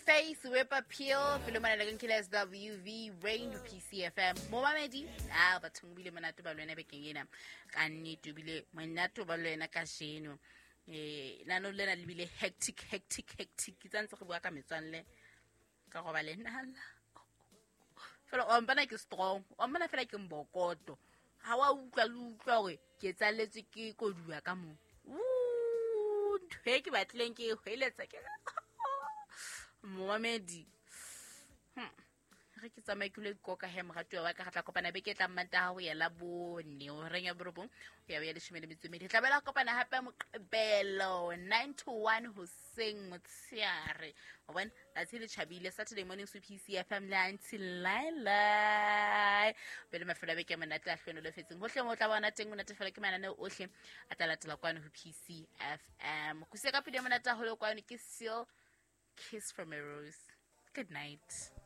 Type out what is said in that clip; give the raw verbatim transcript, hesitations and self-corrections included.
Babyface, Whip Appeal, pele mona le ke S W V Rain P C F M. Momamedi, ah bathong bile monate ba lwena bekeng ena. Ka nnete bile monate ba lwena ka jeno. Eh nano lena le bile hectic hectic hectic. Ke tsantse go bua ka metswalle ka go ba le nala. Fela o mpana ke strong, o mpana fela ke mbokoto. Ha wa utlwa le utlwa hore ke tsalletswe ke koduwa ka mo. Ntho e ke batlileng ke e hweletsa ke momamedi. Hmm. Re ke tsamaye ke lo ikoka he moratuwa wa ka, re tla kopana beke e tlang Mantaha ho ya la bone, horeng ya borobong ho ya ho ya leshome le metso e mmedi. Re tla boela kopana hape Moqebelo nine to one hoseng motshehare. Wa bona tsatsi le tjhabile, Saturday morning so P C F M le Aunty Laila. Pele mafelo a beke a monate a hlohonolofetseng. Hohle moo o tla bona teng o natefelwa ke mananeo ohle a tla latela kwano ho P C F M. Go sia ka pele monate haholo kwano ke Seal, Kiss from a Rose. Good night.